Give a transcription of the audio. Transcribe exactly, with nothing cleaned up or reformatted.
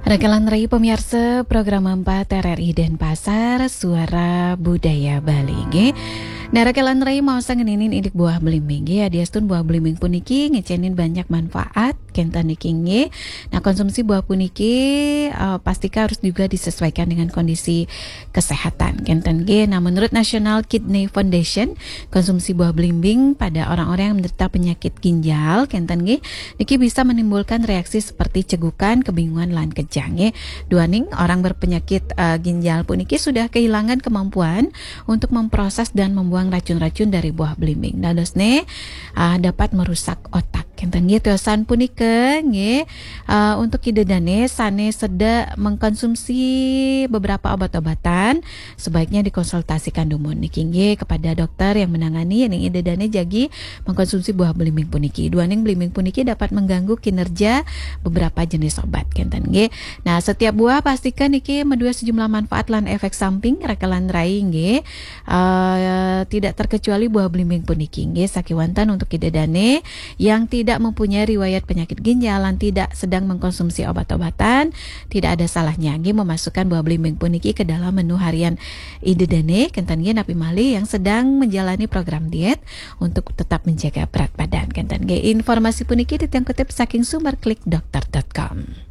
Rakelan rai pamiarsa, program empat R R I Denpasar, Suara Budaya Bali, nggih. Nah, rakelan rai mau sangeninin indik buah blimbing, nggih. Adiastun buah blimbing puniki ngecenin banyak manfaat, kenten niki, nggih. Nah, konsumsi buah puniki, eh, pastika harus juga disesuaikan dengan kondisi kesehatan, kenten nggih. Nah, menurut National Kidney Foundation, konsumsi buah blimbing pada orang-orang yang menderita penyakit ginjal, kenten nggih, niki bisa menimbulkan reaksi seperti cegukan, kebingungan, lan kejang, nggih. Duaning orang berpenyakit, eh, ginjal puniki sudah kehilangan kemampuan untuk memproses dan membuang racun-racun dari buah blimbing. Dadosne, ah, dapat merusak otak. Kenten nggih, tiosan punika nggih, eh, untuk Ida dane sane seda mengkonsumsi beberapa obat-obatan, sebaiknya dikonsultasikan dumun niki nggih kepada dokter yang menangani, yen Ida dane jagi mengkonsumsi buah blimbing puniki. Duaning blimbing puniki dapat mengganggu kinerja beberapa jenis obat, kenten nggih. Nah, setiap buah pastika niki maduwe sejumlah manfaat lan efek samping, rakelan rai nggih. Eh, tidak terkecuali buah blimbing puniki nggih, sakiwanten untuk Ida dane yang tidak mempunyai riwayat penyakit ginjal lan tidak sedang mengkonsumsi obat-obatan, tidak ada salahnya nggih memasukkan buah blimbing puniki ke dalam menu harian Ida dane, kenten nggih, napi malih yang sedang menjalani program diet untuk tetap menjaga berat badan, kenten nggih. Informasi puniki titiang kutip saking sumber klik dokter dot com.